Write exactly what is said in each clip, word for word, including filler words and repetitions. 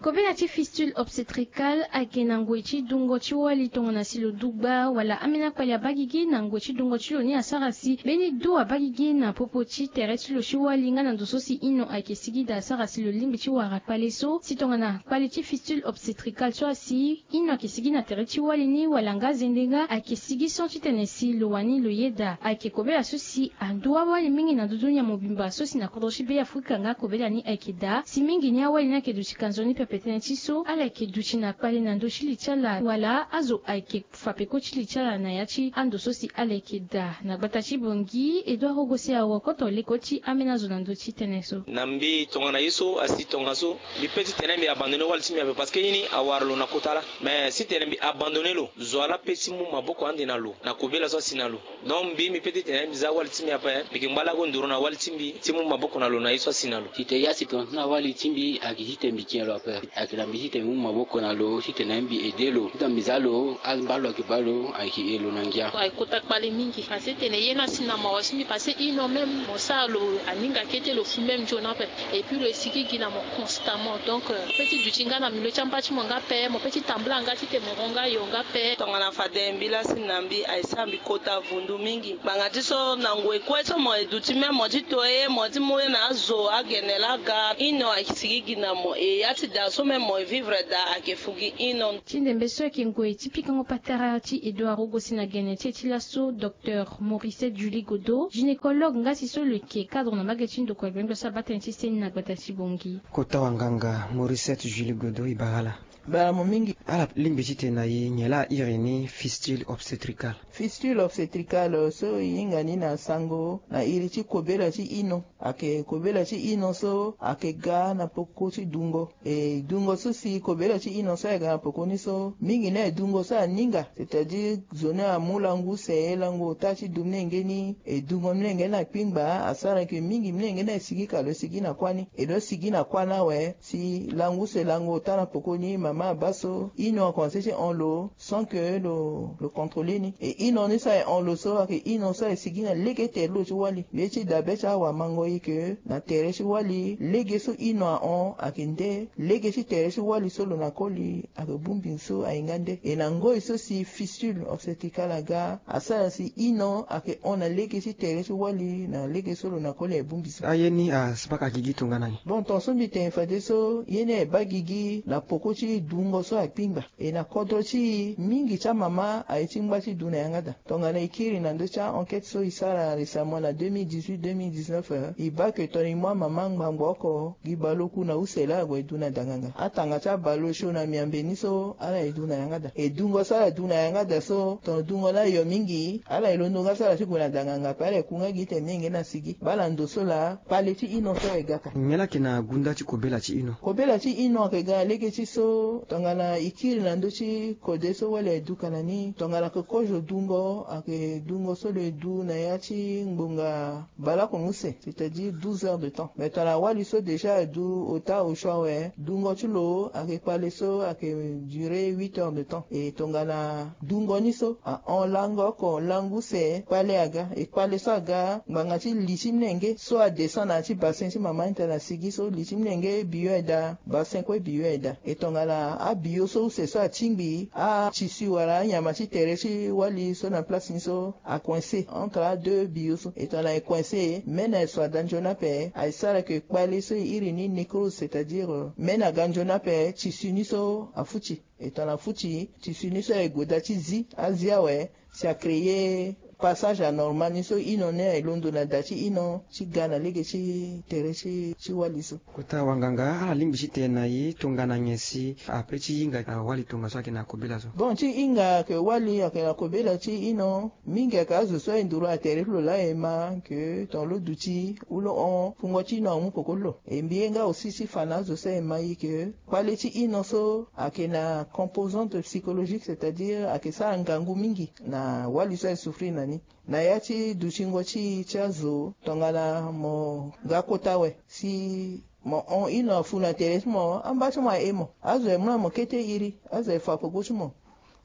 Kobela ti fistule obstétricale ayeke na ngoi ti dungo ti wali tongana si lo du gba wala ambeni akpali abaa gigi na ngoi ti dungo ti lo ni asara si mbeni du abaa gigi na popo ti tere ti lo ti wali nga na ndo so si ino ayeke sigi daa asara si lo lingbi ti wara kpale so si tongana kpale ti fistule obstétricale so asi ino ayeke sigi na tere ti wali ni wala nga zende nga ayeke sigi so titene si lo wani lo yeda ayeke kobela so si ando awali mingi na ndö dunia mobimba so si na kodro ti Be Afrika nga kobela ni ayeke daa si mingi ni awali ni ayeke duti ka nzoni pepe tënë ti so ala yeke duti na kpale na ndö ti li ti ala wala azo ayeke fa peko ti li ti ala na ya ti ando so si ala yeke daa. Na gbata ti Bangui, Edouard Rogosi awo koto leko ti ambeni azo na ndö ti tënë so. Na mbi tongana ye so asi tongaso, mbi pe titene mbi abandonné wali ti mbi ape parce que ye ni awara lo na kota laa. Mais titene mbi abandonné lo, zo wa laa pe ti mu maboko ande na lo na kobela so asi na lo. Donc mbi mbi pe titene mbi za wali ti mbi ape, mbi yeke ngba lako nduru na wali ti mbi ti mu maboko na lo na ye so asi na lo. Titene ye asi tongaso na wali ti mbi ayeke titene mbi tien lo ape. Ayeke na mbi titene mbi mu maboko na lo titene mbi aidé lo titene mbi za lo, ambalo ayeke baa lo ayeke e lo na ngia. Ayeke kota kpale mingi parce que tene ye ni asi na mawa ti mbi parce que ino même mo sara lo aninga kete lo fu même nzoni ape. Et puis lo e sigi gi na mo constamment. Donc euh, mo pe ti duti nga na milieu ti amba ti mo nga ape, mo pe ti tambula nga titene mo ro nga yo nga ape. Tongana fade mbi laa si na mbi aye sara mbi kota vundu mingi. Ngbanga ti so na ngoi kue so mo e duti même mo ti to ye mo ti mu ye na azo agene laa aga ino aye sigi gi na mo. E ya ti daa so même mo e vivre daa ayeke fu gi ino. Ti ndembe so ayeke ngoi ti pikango patara ti Edouard Rogosi na gene ti e ti laso, Docteur Mauricette Julie Godeau, gynécologue nga si so lo yeke cadre na mbage ti ndokua gbengbe so abaa tënë ti seni na gbata ti Bangui. Kota wanganga Mauricette Julie Godeau, e bara ala. Bara mo mingi. Ala lingbi titene na e nyen laa airi ni fistule obstétricale? Fistule obstétricale so e hinga ni na sango na iri ti kobela ti ino. Ayeke kobela ti ino so ayeke ga na peko ti dungo. E dungo so si kobela ti ino so ayeke ga na peko ni so mingi ni aye dungo so aninga, c'est-à-dire zo ni amu lango use, lango ota ti du molenge ni, e dungo molenge ni akpingba, asara ke mingi molenge ni aye sigi ka lo sigi na kuâ ni. E lo sigi na kuâ ni awe si lango use lango ota na peko ni mama abaa so ino akomanse ti hon lo sans que lo, lo contrôler ni. E ino ni so aye hon lo so ayeke ino so aye sigi na lege tere ti lo ti wali. Ye ti dabe ti awamango ye ke na tere ti wali lege so ino ahon ayeke nde lege ti tere ti wali so lo na koli ayeke bongbi so aye nga nde. E na ngoi so si fistule obstétricale aga asara si ino ayeke hon na lege ti tere ti wali na lege so lo na koli aye bongbi so. Aye ni asabaka gigi tongana ni? Bon, ton so mbi tene fadeso ye ni aye baa gigi na peko ti dungo so akpingba. E na kodro ti e mingi ti amama aye ti ngba ti du na yanga daa. Tongana e kiri na ndö ti a-enquête so e sara récemment na deux mille dix-huit deux mille dix-neuf, e baa ke tongana e mu amama ngbangbo oko gi baleoku na use laa ague du na danganga. Atanga ti abaleosio na miambe ni so ala ye du na yanga daa. E dungo so ala du na yanga daa so tongana dungo ni ayo mingi ala ye londo nga so ala ti gue na danganga ape, ala ye ku nga gi tene molenge ni asigi. Baa na ndo so laa kpale ti ino so aye ga ka. Nyen laa ayeke na gunda ti kobela ti ino? Kobela ti ino ayeke ga na lege ti so tongana e kiri na ndö ti kode so wali aye duka na ni, tongana ayeke kozo dungo ayeke dungo so lo ye du na ya ti ngbonga baleoko na use, c'est-à-dire douze heures de temps. Mais tongana wali so déjà aye du ota osio awe, dungo ti lo ayeke kpale so ayeke durer huit heures de temps. E tongana dungo ni so ahon lango oko lango use, kpale aga. E kpale so aga ngbanga ti li ti molenge so adescend na ya ti bassin ti mama ni tena asigi so li ti molenge biyo aye daa, bassin kue biyo aye daa. E tongana abiyo so use so atingbi, atissu wala anyama ti tere ti wali so na place ni so acoincé entre adeux biyo so. E tongana e coincé, mene aye so ada nzoni ape, aye sara ke kpale so e iri ni nécrose, c'est-à-dire, euh, mene aga nzoni ape, tissu ni so afuti. E tongana afuti, tissu ni so aye gue daa ti zi, azi awe, si acréer passage anormal ni so ino ni aye londo na da ti ino ti ga na lege ti tere ti, ti wali so. Kota wanganga, ala lingbi ti tene na e tongana nyen si ape ti hinga, ah, wali tongaso ayeke na kobela so? Bon, ti hinga ayeke wali ayeke na kobela ti ino, mingi ayeke azo so aye nduru na tere ti lo laa aye ma ke tongana lo duti ou lo hon, fungo ti ino amu peko ti lo. E mbi ye nga aussi ti fa na azo so aye ma e ke kpale ti ino so ayeke na composante psychologique, c'est-à-dire ayeke sara ngangu mingi na wali so aye souffrir na ni. Na ya ti dutingo ti e ti azo, tongana mo ga kota awe si mo hon ino afu na tere ti mo, amba ti mo aye mo. Azo aye mu na mo kete iri, azo aye fa peko ti mo.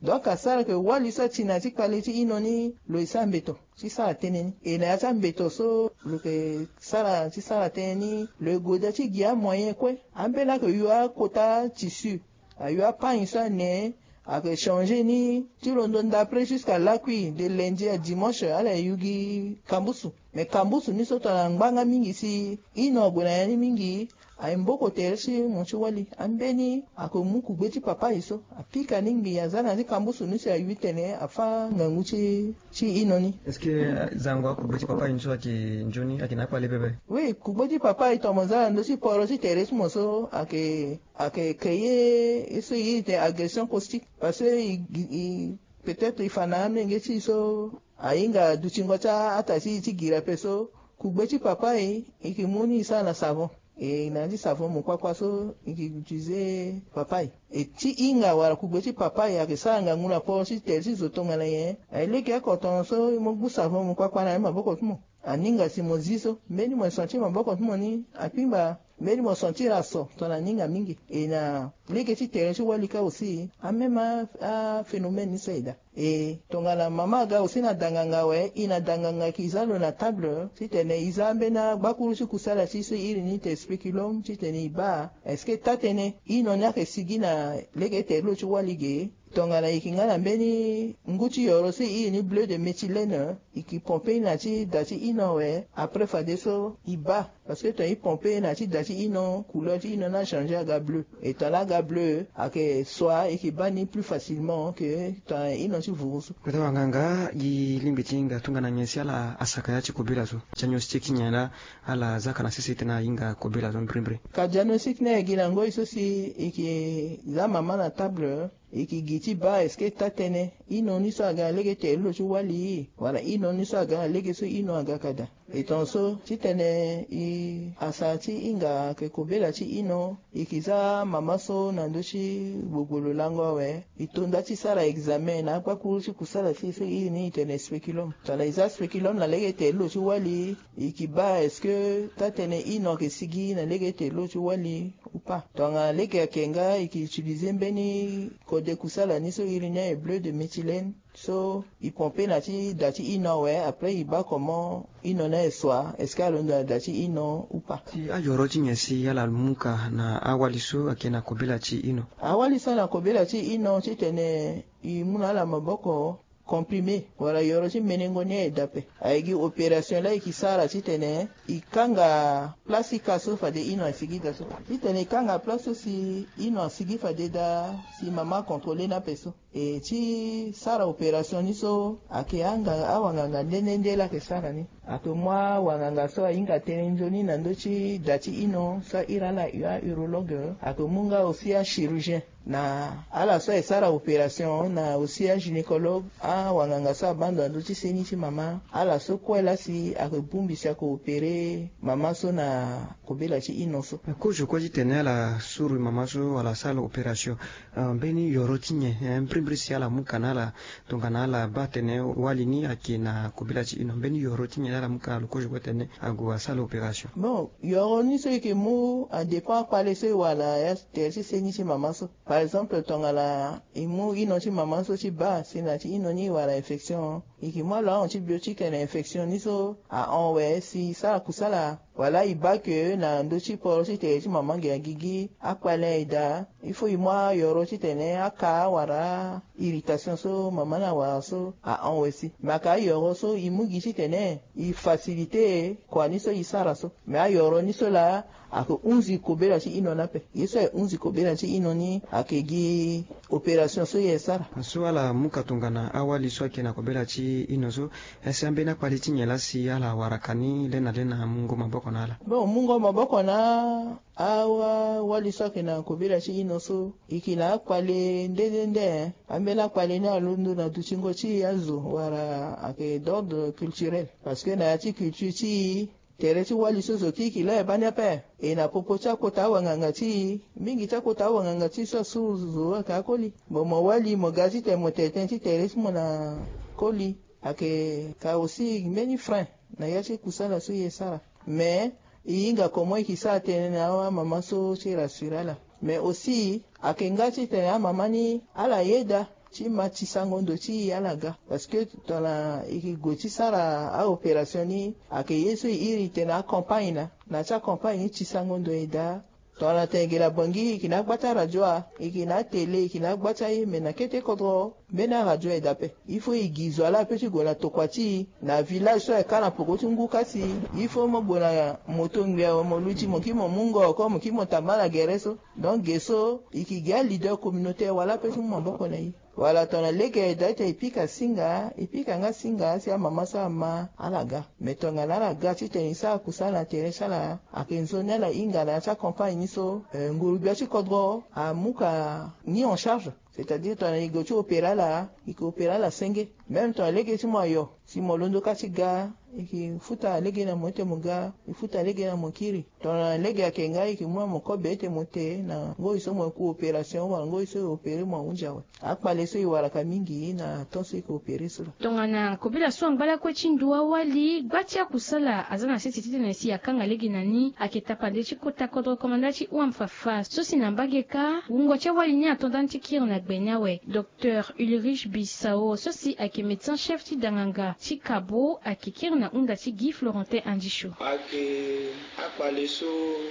Donc asara ke wali so ati na ti kpale ti ino ni lo e sara mbeto ti sara tënë ni. E na ya ti ambeto so lo ke sara ti sara tënë ni, lo e goda ti gi amoyen kue. Ambeni ake yu akota tissu, ayu apagne so ane, ake changer ni ti londo ndapre jusqu'à lakui, de lundi à dimanche ala e yu gi kambusu. Me kambusu ni so tongana ngbanga mingi si ino ague na ya ni mingi, aye mboko tere ti mo ti wali. Ambeni ake mu kugbe ti papa e so, apika ni ngbii, aza na ya ti kambusu ni si ayu tene afâ ngangu ti ti ino ni. Est-ce que, euh, zango akugbe ti papa e ni so ayeke nzoni, ayeke na akpale pepe? Oui, kugbe ti papa e, tongana mo za na ndö ti poro ti tere ti mo so, ayeke, ayeke créer ye so e iri tene agression caustique. Parce que e, e, peut-être e fa na amolenge ti e so ahinga dutingo ti ataa ti e ti gira ape so, kugbe ti papa e, e yeke mu ni e sara na savon. E na ya ti savon mokpakpa so e yeke utiliser papa e. E ti hinga wala kugbe ti papa e ayeke sara ngangu na poro ti tere ti zo tongana nyen? Aye lege oko tongaso e mu gbu savon mokpakpa na ya ti maboko ti mo. Aninga si mo zi so, mbeni mo sentir maboko ti mo ni akpingba, mbeni mo sentir aso tongana aninga mingi. E na lege ti tere ti wali kâ aussi, amême a, aphénomène ni so aye daa. E tongana mama aga aussi na da nganga awe, e na da nganga e ke za lo na table titene e za ambeni agbakuru ti kusala ti e so e iri ni tene spéculum titene e baa est-ce que taa-tënë ino ni ayeke sigi na lege tere ti lo ti wali ge. Tongana e yeke nga na mbeni ngu ti yoro so e iri ni bleu de méthylène, e yeke pomper na ti da ti ino awe, après fadeso e baa. Parce que tongana e pomper na ti da ti ino, couleur ti ino ni achanger aga bleu. E tongana aga bleu, ayeke soit e yeke baa ni plus facilement que tongana ino ti vuru so. Kota wanganga, e lingbi ti hinga tongana nyen si ala asaka ya ti kobela so? Diagnostic nyen laa ala zaka na sese titene ahinga kobela so mbirimbiri? Ka diagnostic ni aye gi na ngoi so si e yeke za mama na table, e yeke gi ti baa est-ce que taa-tënë ino ni so aga na lege tere ti lo ti wali, wala ino ni so aga na lege so ino aga ka daa. E tongaso titene e, asa ti hinga ayeke kobela ti ino, e yeke za mama so na ndö ti gbogbolo lango awe, e to nda ti sara examen na agbakuru ti kusala ti e so e iri ni e tene spéculum. Tongana e za spéculum na lege tere ti lo ti wali, e yeke baa est-ce que taa-tënë ino ayeke sigi na lege tere ti lo ti wali ou pas. Tongana lege ayeke nga, e yeke utiliser mbeni kode kusala ni so e iri ni aye bleu de méthylène. So e pomper na ti da ti ino awe, après e baa comment ino ni aye soit, est-ce que alondo na da ti ino ou pas. Si ayoro ti nyen si ala mu ka na awali so ayeke na kobela ti ino? Awali so na kobela ti ino titene e mu na ala maboko comprimé, wala yoro ti menengo ni aye daa ape. Aye gi opération laa e yeke sara titene e kanga place ti ka so fade ino asigi daa so. Titene e kanga place so si ino asigi fade daa, si mama acontrôler ni ape so. E ti sara opération ni so, ayeke anga awanganga nde nde nde laa ayeke sara ni. Ayeke mu awanganga so ahinga tënë nzoni na ndö ti da ti ino so a iri ala a-urologue. Ayeke mu nga aussi achirurgien. Na ala so aye sara opération, na aussi agynécologue, awanganga so abaa ndo na ndö ti seni ti mama. Ala so kue laa si ayeke bongbi si ayeke opérer mama so na kobela ti ino so. Kozo kue titene ala suru mama so wala asara opération, eh, mbeni yoro ti nyen, eh, mbirimbiri si ala mu ka na ala tongana ala baa tene wali ni ayeke na kobela ti ino? Mbeni yoro ti nyen ala mu ka na lo kozo kue titene ague asara opération? Bon, yoro ni so e yeke mu adépend akpale so e wara na ya tere ti seni ti mama so. Par exemple, tongana e mu ino ti mama so ti baa si na ya ti ino ni e wara infection, e yeke mu alo antibiotique na infection ni so ahon awe si e sara kusala. Wala e baa ke na ndö ti poro ti tere ti mama ngia gigi akpale aye daa, il faut e mu ayoro titene aka wala irritation so mama ni awara so ahon awe si. Me ayeke ayoro so e mu gi titene e faciliter kua ni so e sara so. Me ayoro ni so laa ayeke hunzi kobela ti ino ni ape. Ye so aye hunzi kobela ti ino ni ayeke gi opération so e sara. So ala mu ka tongana awali so ayeke na kobela ti ino so, est-ce ambeni akpale ti nyen laa si ala wara ka ni le na le na mungo maboko na ala? Bon, mungo maboko na awali so ayeke na kobela ti ino so, e yeke na akpale nde nde nde, eh. Ambeni akpale ni alondo na dutingo ti azo wala ayeke d'ordre culturel. Parce que na ya ti culture ti e, tere ti wali so zo kiri kiri laa e baa ni ape. E na popo ti akota awanganga ti e, mingi ti akota awanganga ti e so asuru zo ayeke akoli. Mo, mo wali, mo ga titene mo tene tënë ti tere ti mo na koli. Ayeke ka aussi mbeni frein na ya ti kusala so e sara. Mais e hinga comment e yeke sara tënë na amama so ti rassurer ala. Mais aussi ayeke nga titene amama ni ala yeda ti ma ti sango ndo ti ala ga. Parce que tongana e ke gue ti sara aopération ni, ayeke ye so e iri tene acampagne na na ti acampagne ni ti sango ndo e daa. Tongana tene e ke na bangi e ke na agba ti aradio a, e ke na atele e ke na agba ti aye me na kete kodro mbeni aradio e daa pe. Il faut e gi zo ala pe ti gue na tokua ti e na village so ayeke kâ na poko ti ngu kâ si il faut mo gue na moto ngbi awe mo luti mo kiri mo mu ngo oko mo kiri mo tamba na gere so. Donc ge so e ke gi aleader communautaire wala pe ti mu maboko na e. Wala tongana lege e daa ti tene e pika singa e pika nga singa si amama so ama ala ga. Me tongana ala ga titene e sara kusala na tere ti ala ayeke nzoni ala hinga na ya ti acampagne ni so, eh, nguru-gbia ti kodro amu ka ni en charge. C'est-à-dire tongana e gue ti opérer ala e ke opérer ala senge. Même tongana lege ti mo ayo si mo londo kâ ti ga e ke futa lege na mo ete mo ga e futa lege na mo kiri. Tongana lege ayeke nga e ke mu na mo kobe ete mo te na ngoi so mo ku opération wala ngoi so e opérer mo ahunzi awe. Akpale so e waraka mingi na temps so e ke opérer so laa. Tongana kobela so angba lakue ti ndo awali gba ti akusala aza na sese titene si akanga lege na ni ayeke tapande ti kota kodro komanda ti uam fafa so si na mbage kâ wungo ti awali ni ato ndani ti kiri na gbe ni awe. Docteur Ulrich Bissau so si ayeke médecin chef ti danganga ti kabo ayeke kiri na hunda ti Guy Florentin Andisho. Ayeke akpale so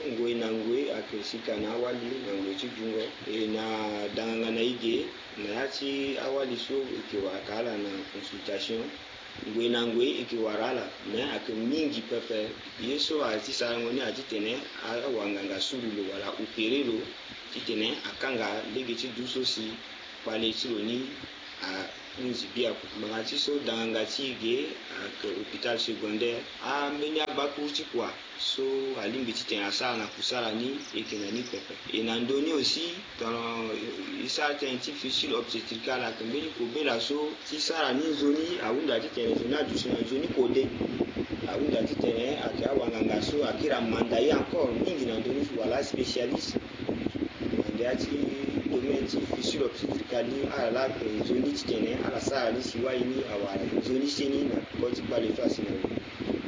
ngoi na ngoi ayeke sika na awali na ngoi ti dungo e na danganga na e ge na ya ti awali so e ke wara ka ala na consultation. Ngoi na ngoi e ke wara ala me ayeke mingi pepe. Ye so ayeke ti sarango ni ayeke titene awanganga suru lo wala opérer lo titene akanga lege ti du so si kpale ti lo ni ahunzi biaku. Ngbanga ti so danganga ti e ge ayeke hôpital secondaire. Ambeni abakuru ti kua so alingbi titene asara na kusala ni e yeke na ni pepe. E na ndö ni aussi tongana e sara tënë ti fistule obstétricale ayeke mbeni kobela so ti sara ni nzoni ahunda titene zo ni aduti na nzoni kode. Ahunda titene ayeke awanganga so akiri amanda ye encore mingi na ndö ni wala aspécialiste na ndia ti domaine ti fistule obstétricale ni ala laa ayeke nzoni titene ala sara ni si wali ni awara nzoni seni na peko ti kpale so asi na lo.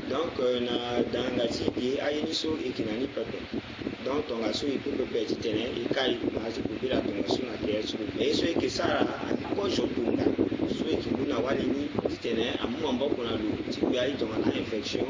Donc na danganga ti e ge aye ni so e yeke na ni pepe. Donc tongaso e pe pepe titene e kai ma azo kobela tongaso na tere ti lo. Mais ye so e yeke sara ayeke kozo kunda so e yeke mu na wali ni titene amu maboko na lo ti kpe aye tongana infection.